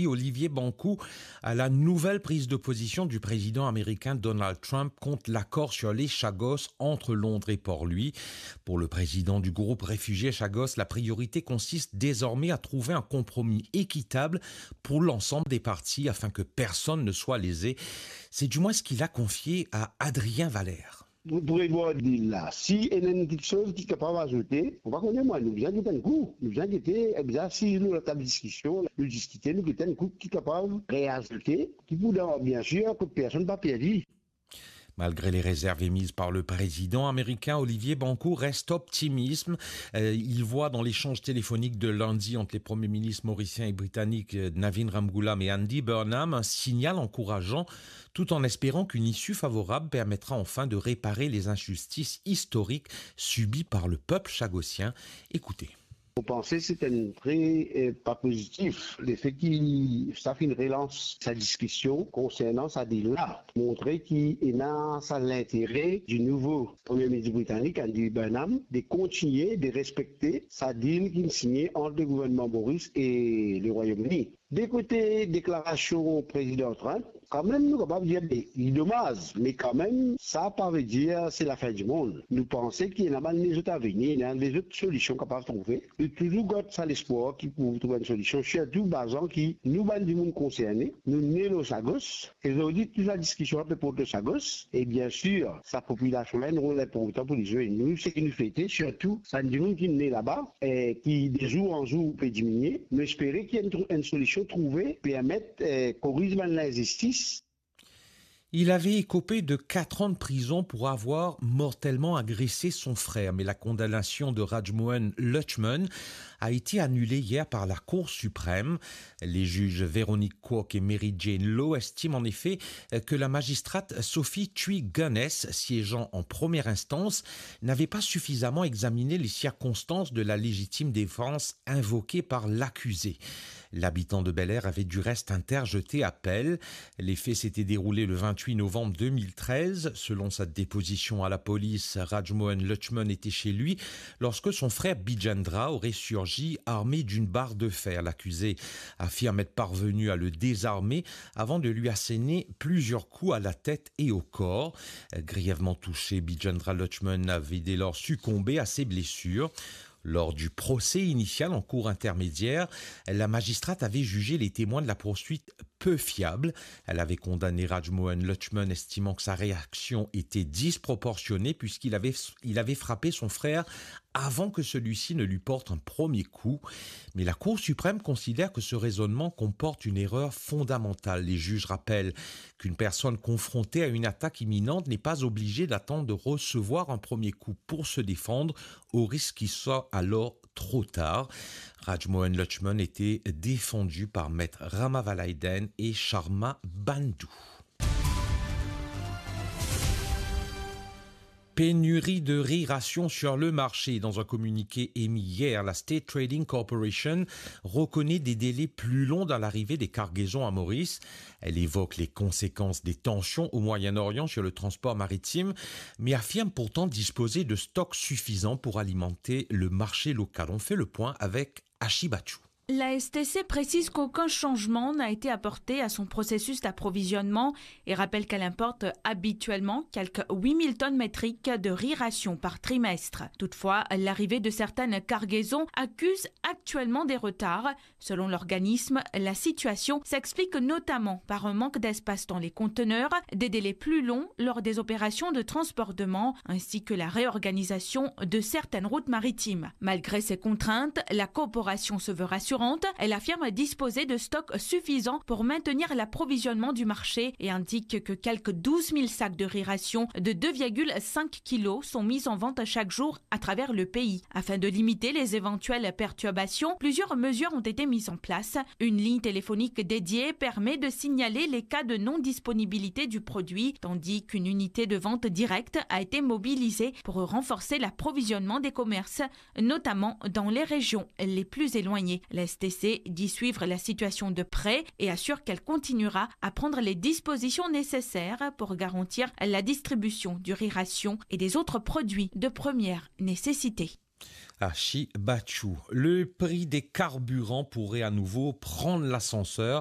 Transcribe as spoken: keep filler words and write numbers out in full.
Olivier Bankou à la nouvelle prise de position du président américain Donald Trump contre l'accord sur les Chagos entre Londres et Port-Louis. Pour le président du groupe réfugié Chagos, la priorité consiste désormais à trouver un compromis équitable pour l'ensemble des parties afin que personne ne soit lésé. C'est du moins ce qu'il a confié à Adrien Valère. Pou, pou revwar dil la, si ena enn kiksoz ki kapav azoute, ou pa kone mwa, nou bizin get enn kou, nou bizin gete, eh bizin asiz lor latab diskision, nou diskite, nou get enn kou ki kapav reazoute, ki pou dan, bien sûr, kot personn pa perdi. Malgré les réserves émises par le président américain, Olivier Bankou reste optimiste. Euh, il voit dans l'échange téléphonique de lundi entre les premiers ministres mauriciens et britanniques, euh, Navin Ramgoolam et Andy Burnham, un signal encourageant, tout en espérant qu'une issue favorable permettra enfin de réparer les injustices historiques subies par le peuple chagosien. Écoutez. Mo panse se enn tre, eh, pa pozitif, lefe ki sa finn relans sa diskision konsernan sa dil la. Montre ki ena sa lintere di nouvo Premie Minis britanik, Andy Burnham, de kontigne de respekte sa dil ki signe ant le gouvernman Moris e le Rwayom Ini. De kote deklarasion Prezidan Trump, kanmem nou kapav dir, be, li domaz, me kanmem, sa pa ve dir se lafin dimond. Nou panse ki ena bann lezot avini, ena lezot solision kapav trouve. Nou touzour gard sa lespwar ki pou trouv enn solision, sirtou bazan ki nou bann dimoun konserne, nou ne lor Chagos, e zordi tou sa diskision la pe port lor Chagos, e bien sir, sa popilasion la ena enn rol inportan pou li zwe. Nou, seki nou swete, sirtou bann dimoun ki ne laba, eh, ki de zour an zour pe diminie. Nou espere ki enn trou-, enn solision trouve, permet, eh, koriz bann linzistis. Il avait écopé de quatre ans de prison pour avoir mortellement agressé son frère, mais la condamnation de Rajmohan Luchman a été annulée hier par la Cour suprême. Les juges Véronique Kwok et Mary Jane Lowe estiment en effet que la magistrate Sophie Chui Gunness, siégeant en première instance, n'avait pas suffisamment examiné les circonstances de la légitime défense invoquée par l'accusé. L'habitant de Bel Air avait du reste interjeté appel. Les faits s'étaient déroulés le vingt-huit novembre deux mille treize. Selon sa déposition à la police, Rajmohan Luchman était chez lui lorsque son frère Bijendra aurait surgi armé d'une barre de fer. L'accusé affirme être parvenu à le désarmer avant de lui asséner plusieurs coups à la tête et au corps. Grièvement touché, Bijendra Luchman avait dès lors succombé à ses blessures. Lors du procès initial en cour intermédiaire, la magistrate avait jugé les témoins de la poursuite peu fiables. Elle avait condamné Rajmohan Luchman, estimant que sa réaction était disproportionnée puisqu'il avait, il avait frappé son frère avant que celui-ci ne lui porte un premier coup. Mais la Cour suprême considère que ce raisonnement comporte une erreur fondamentale. Les juges rappellent qu'une personne confrontée à une attaque imminente n'est pas obligée d'attendre de recevoir un premier coup pour se défendre, au risque qu'il soit alors trop tard. Rajmohan Luchman était défendu par maître Rama Valaiden et Sharma Bandhu. Pénurie de riz ration sur le marché. Dans un communiqué émis hier, la State Trading Corporation reconnaît des délais plus longs dans l'arrivée des cargaisons à Maurice. Elle évoque les conséquences des tensions au Moyen-Orient sur le transport maritime, mais affirme pourtant disposer de stocks suffisants pour alimenter le marché local. On fait le point avec Ashi Bachou. La S T C précise qu'aucun changement n'a été apporté à son processus d'approvisionnement et rappelle qu'elle importe habituellement quelques huit mille tonnes métriques de riz ration par trimestre. Toutefois, l'arrivée de certaines cargaisons accuse actuellement des retards. Selon l'organisme, la situation s'explique notamment par un manque d'espace dans les conteneurs, des délais plus longs lors des opérations de transbordement, ainsi que la réorganisation de certaines routes maritimes. Malgré ces contraintes, la corporation se veut rassurante. Elle affirme disposer de stocks suffisants pour maintenir l'approvisionnement du marché et indique que quelques douze mille sacs de riz ration de deux virgule cinq kilos sont mis en vente chaque jour à travers le pays. Afin de limiter les éventuelles perturbations, plusieurs mesures ont été mises en place. Une ligne téléphonique dédiée permet de signaler les cas de non-disponibilité du produit, tandis qu'une unité de vente directe a été mobilisée pour renforcer l'approvisionnement des commerces, notamment dans les régions les plus éloignées. La S T C dit suivre la situation de près et assure qu'elle continuera à prendre les dispositions nécessaires pour garantir la distribution du riz ration et des autres produits de première nécessité. Ashi Bachou. Le prix des carburants pourrait à nouveau prendre l'ascenseur.